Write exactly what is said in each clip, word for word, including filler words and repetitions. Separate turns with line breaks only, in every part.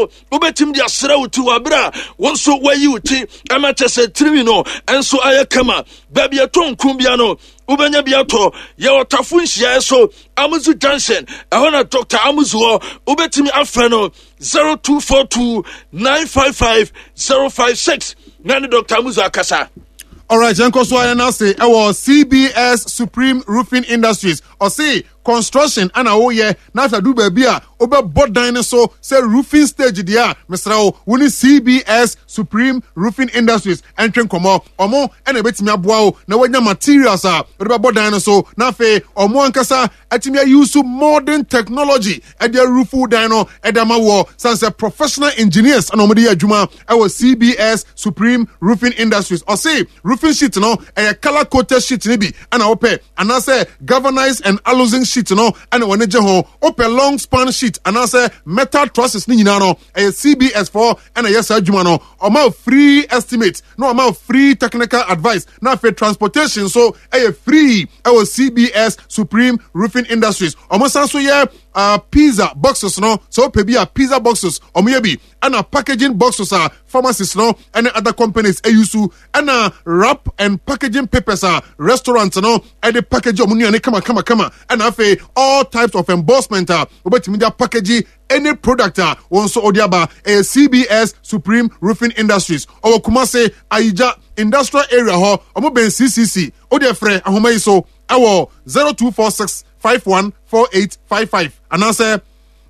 Wobɛtumi de asrɛ wo ti wɔ abere a wo nso wayi wo ti ɛma kyɛ sɛ tirinwi no nso ayɛ kama. Baabi ɛtɔ nko bia no, wobɛnya bi atɔ. Yɛwɔ Tafo nhyiaeɛ so, Amuzu Junction, ɛhɔ na Doctor Amuzu hɔ. Wobɛtumi afrɛ no zero two four two nine five five zero five six na ne Doctor Amuzu akasa.
Alright, yɛn kɔ so ayɛ n'ase ɛwɔ C B S Supreme Roofing Industries. Ɔse construction ana woyɛ na afei adu baabi a wobɛbɔ dan no so sɛ roofing stage deɛ a, mesrɛ wo, wo ne C B S Supreme Roofing Industries ɛntwe nkɔmmɔ. Ɔmo ɛna ɛbɛtumi aboa wo na woanya materials a wode bɛbɔ dan no so, na afei ɔmo ankasa atumi ayi modern technology ɛde aroof dan no ɛde ama wɔ san sɛ professional engineers ɛna wɔde yɛ adwuma ɛwɔ C B S Supreme Roofing Industries. Ɔse roofing sheet no, ɛyɛ colour coated sheet no bi ɛna wopɛ, anaasɛ galvanized and aluzinc sheet no ɛna wɔn gye ho, wopɛ long span sheet anaasɛ metal trusses ne nyinaa no, ɛyɛ C B S foɔ ɛna ɛyɛ saa adwuma no. Ɔma free estimate na ɔma free technical advice, na afei transportation nso ɛyɛ free ɛwɔ C B S Supreme Roofing Industries. Ɔmo san so yɛ uh, pizza boxes no. Sɛ wopɛ bi a, pizza boxes ɔmo yɛ bi, ɛna packaging boxes a pharmacies no ɛne other companies ɛyi so, ɛna wrap and packaging papers a restaurant no ɛde package ɔmo nnuane kama kama kama, ɛna afei all types of embossment a wobɛtumi de package any product a wɔn nso ɔde aba. Ɛyɛ C B S Supreme Roofing Industries. Ɔwɔ Kumase, Ayigya Industrial Area hɔ, ɔmo bɛn C C C. Ɔde ɛfrɛ ahoma yi so ɛwɔ zero two four six five one four eight five five anaasɛ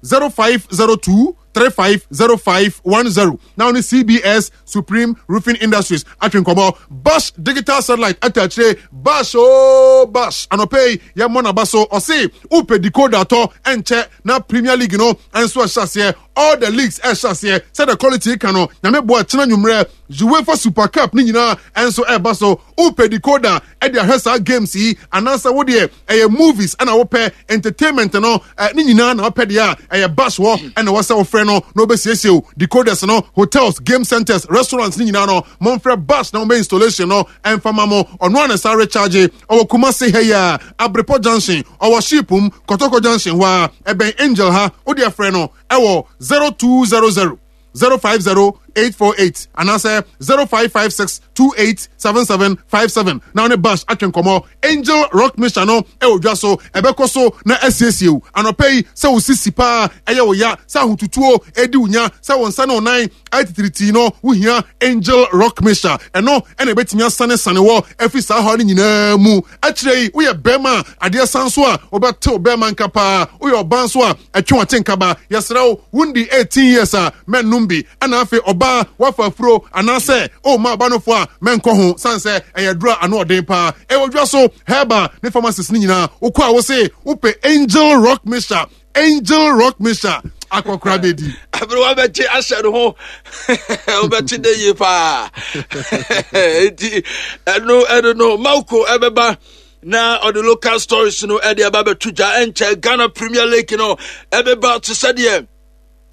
zero five zero two three five zero five one zero na ɔne C B S Supreme Roofing Industries atwe nkɔmɔ. Bash Digital Satellite ɛta akyire. Bash ooo, Bash anɔpɛ yi yɛmmɔ n'aba so. Ɔse wopɛ decoder atɔ, ɛnkyɛ na Premier League no ɛnso ɛhyɛ aseɛ, all the leagues ɛhyɛ aseɛ. Sɛdeɛ quality ka no, Nyame boa, kyena nwummerɛ UEFA Super Cup ne nyinaa ɛnso ɛreba so. Wopɛ decoder ɛde ahwɛ saa games yi, anaasɛ wodeɛ ɛyɛ movies ɛna wopɛ entertainment no ɛ ne nyinaa na wopɛ deɛ a, ɛyɛ Bash wɔ ɛna wɔsɛ wofrɛ no na wobɛsiesie o decoders no. Hotels, game centers, restaurants ne nyinaa no, momfrɛ Bash na wɔbɛ installation no ɛmfa ma mo. Ɔno a ne sa recharge. Ɔwɔ Kumase ha yi a, Abrepɔ Junction, ɔwɔ Shipum Kɔtɔkɔ Junction hɔ a ɛbɛn Angel ha. Wode afrɛ no ɛwɔ zero two zero zero zero five zero eight four eight anaasɛ zero five five six two eight seven seven five seven na ɔne Bash atwe nkɔmmɔ. Angel Rock Mixture no ɛwɔ dwa so, ɛbɛkɔ so na asiesie wo anɔpɛ yi. Sɛ wo sisi paa ɛyɛ wo ya, sɛ ahotutuo ɛdi wo nya, sɛ wo nsa ne wo nan ayɛ no, wohia Angel Rock Mixture. Ɛno ɛna ɛbɛtumi asane sane wɔ ɛfiri saa haw no nyinaa mu. Akyerɛ yi, woyɛ bɛrima a, adeɛ san so a wobɛtew bɛrima nka paa. Woyɛ ɔbaa nso a, ɛtwe wate nkaba. Yɛsrɛ wo, wondi eighteen years a, mɛnnom bi. Ɛna afei ɔbaa wafa afuro anaasɛ ɔma ɔba no fo a, mɛnkɔ ho, san sɛ ɛyɛ duro a ano ɔden paa. Ɛwɔ dwa so, herbal ne pharmacist ne nyinaa. Wokɔ a, wo se wopɛ Angel Rock Mixture. Angel Rock Mixture akɔkora bɛdi.
Abere wabɛgye ahyɛ no ho, wobɛte dɛ yie paa. Nti ɛno ɛno no Mauko ɛbɛba na ɔde local stories no ɛde aba bɛto dwa. Ɛnkyɛ Ghana Premier League no ɛbɛba te sɛdeɛ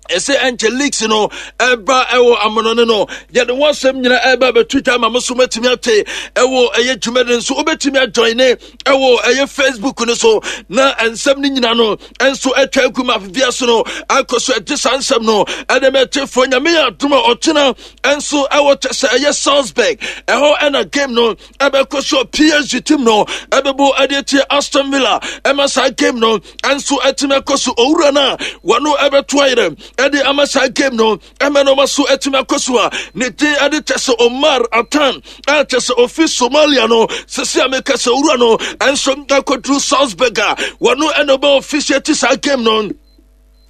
ɛsɛ. Ɛnkyɛ leagues no ɛba ɛwɔ amonɔne no, yɛde wɔn asɛm nyina ɛba bɛto dwa ma mo so matumi ate ɛwɔ ɛyɛ dwumadi nso. Wobɛtumi ajoin ne ɛwɔ ɛyɛ Facebook no so na nsɛm no nyina no ɛnso atwa agu ma afifia so no akɔ so. Ɛgye saa nsɛm no ɛde mɛtefoɔ. Nyame yɛ adom a, ɔkyena ɛnso ɛwɔ kyɛ sɛ ɛyɛ Salzburg, ɛhɔ ɛna game no ɛbɛkɔ so. P S G team no ɛbɛbɔ ɛde atie Aston Villa. Ɛma saa game no ɛnso ɛtumi akɔ so. Owura no a wɔno ɛbɛto ayerɛ ɛde ama saa game no ɛmɛ no ɔma so ɛtumi akɔ so a, ne din ɛde kyɛ sɛ Omar Atan a kyɛ sɛ ofi Somalia no. Sisi a meka sɛ owura no ɛnso akɔduru Salzburg a wɔno ɛna ɔbɛ officiate saa game no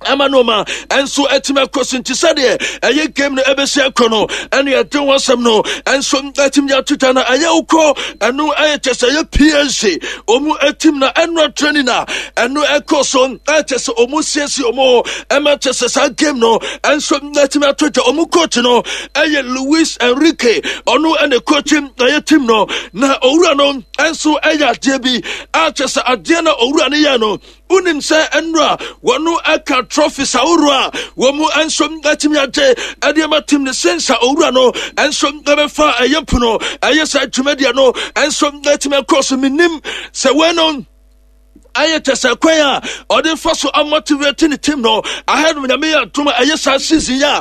ɛma no ma ɛnso ɛtumi akɔ so. Nti sɛdeɛ ɛyɛ game no ɛbɛsi akɔ no, ɛne ɛde ho asɛm no ɛnso ɛtumi de ato dwa no. Ɛyɛ wokɔ ɛno ɛyɛ kyɛ sɛ ɛyɛ P S G ɔmu ɛtim na ɛno training a ɛno ɛkɔ so, ɛkyɛ sɛ ɔmu siesie ɔmu ɛma kyɛ sɛ saa game no ɛnso ɛtumi ato dwa. Ɔmu coach no ɛyɛ Luis Enrique, ɔno ɛne coach ɛyɛ team no, na owura no ɛnso ɛyɛ adeɛ bi a kyɛ sɛ adeɛ no owura no yɛ no, wonim sɛ ɛnora wɔno ɛka trophies ahoroɔ a wɔn mu nso atumi agye ɛde ama team ne sensa. Owura no nso ɛbɛfa ɛyɛ pono ɛyɛ sɛ dwumadie no nso atumi akɔ so. Menim sɛ wɔn no Ayɛ kyɛ sɛ kwan a ɔde fa so amotivate ne team no ahead of Nyame yɛ atom a ɛyɛ saa season yi a.